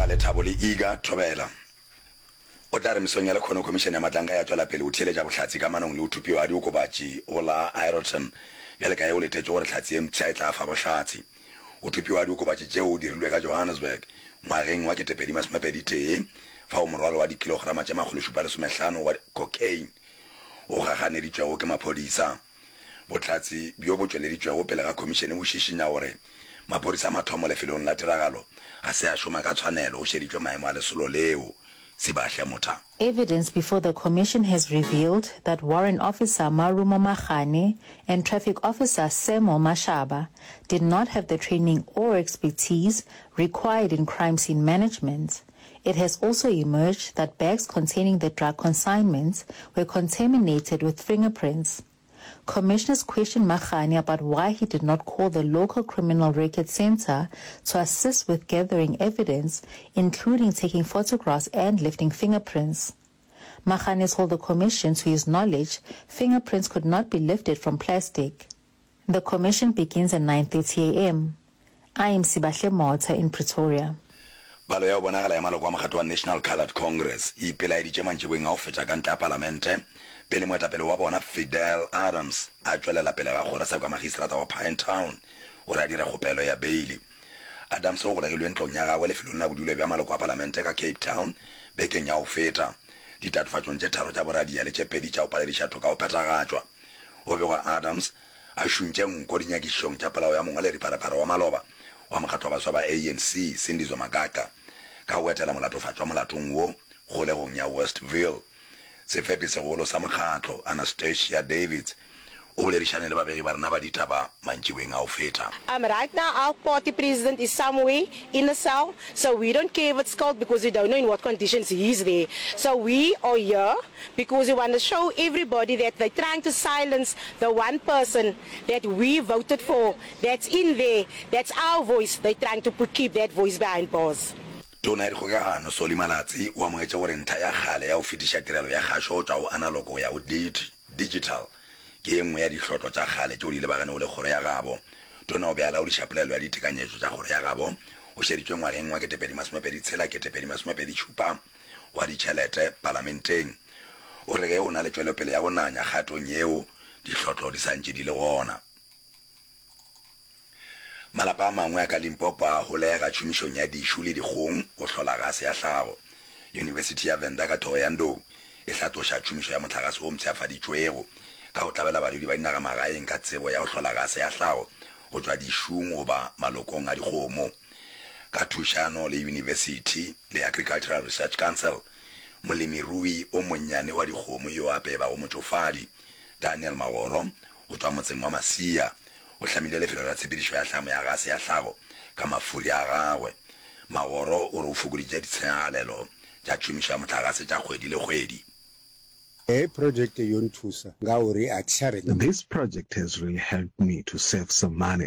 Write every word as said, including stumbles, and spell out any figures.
Lethabo le Iga Thobela. O tla re mesong ya lekhono Khomišene ya Matlanka ya tšwela pele go theeletša bohlatse kamanong le go thupiwa ga diokobatši go la Aeroton bjale ka ge go letetšwe gore hlatse ye mpsha e tla fa bohlatse. Go thupiwa ga diokobatši tšeo go dirilwe ka Johannesburg ngwageng wa ketepedi masomepedi tee fao morwalo wa dikilograma tše makgolo šupa lesomehlano wa cocaine o gaganeditšwego ke maphodisa. Bohlatse bjo bo tšweleditšwego pele ga khomišene bo šišinya gore maphodisa a mathomo lefelong la tiragalo ga se a šoma ka tshwanelo go šeditšwe maemo a lesolo leo. Sibahle Motha. Evidence before the commission has revealed that Warrant Officer Marumo Magane and Traffic Officer Samuel Mashaba did not have the training or expertise required in crime scene management. It has also emerged that bags containing the drug consignments were contaminated with fingerprints. Commissioners questioned Magane about why he did not call the local criminal record center to assist with gathering evidence, including taking photographs and lifting fingerprints. Magane told the commission to his knowledge, fingerprints could not be lifted from plastic. The commission begins at nine thirty A M. I am Sibahle Motha in Pretoria. Palo ya go bonagala ya maloko a mokgatlo wa National Coloured Congress e ipelaeditše mantšiboeng a go feta ka ntle ga palamente pele moetapele wa bona Fidel Adams a tšwelela pele ga kgorotsheko ya magistrata wa Pinetown gore a dire kgopelo ya beili. Adams o golegilwe ntlong ya gagwe lefelong la bodulo bja maloko a palamente ka Cape Town bekeng ya go feta ditatofatšong tše tharo tša boradia le tše pedi tša go palediša toka go phethagatšwa. Go begwa Adams a šuntše nko dinyakišišong tša polao ya mongwaleripharephare wa maloba wa mokgatlo wa baswa ba A N C, Sindizo Magaqa, ka go etela molatofatšwa molatong wo kgolegong ya Westville. Sefepi segolo sa mokgatlo, Anastasia Davids, o boledišane le babegi ba rena ba ditaba mantšiboeng a go feta. Um, right now our party president is somewhere in a cell, so we don't care if it's cold because we don't know in what conditions he is there. So we are here because we want to show everybody that they're trying to silence the one person that we voted for, that's in there, that's our voice, they're trying to put, keep that voice behind bars. Tona ya Dikgokagano, Solly Malatsi, o amogetše gore ntlha ya kgale ya go fetiša tirelo ya kgašo go tšwa go analog go ya go digital ke ye nngwe ya dihlotlo tša kgale tšeo di lebaganego le kgoro ya gabo. Tona o be a laodiša polelo ya ditekanyetšo tša kgoro ya gabo go šeditšwe ngwageng wa ketepedi masomepedi tshela ketepedi masomepedi šupa wa ditšhelete palamenteng. O re ge go na le tšwelopele ya go nanya kgatong yeo, dihlotlo di sa ntše di le gona. Malapa a mangwe a ka Limpopo a holega tšhomišong ya dišu le dikgong go hlola gase ya hlago. Yunibesithi ya Venda ka Thohoyandou e hlatloša tšhomišo ya mohlagase wo mpshafaditšwego ka go tlabela badudi ba dinagamagaeng ka tsebo ya go hlola gase ya hlago go tšwa dišung goba malokong a dikgomo. Ka thušano le yunibesithi le Agricultural Research Council, molemirui o monnyane wa dikgomo yo a pebago motšofadi, Daniel Magoro, go tšwa motseng wa Masia, o hlamile lefelo la tshepedišo ya hlamo ya gase ya hlago ka mafuri a gagwe. Magoro o re o fokoditše ditshenyagalelo tša tšhomišo ya mohlagase tša kgwedi le kgwedi. Hei project yo nthusa ngauri a thi tsha renga. This project has really helped me to save some money.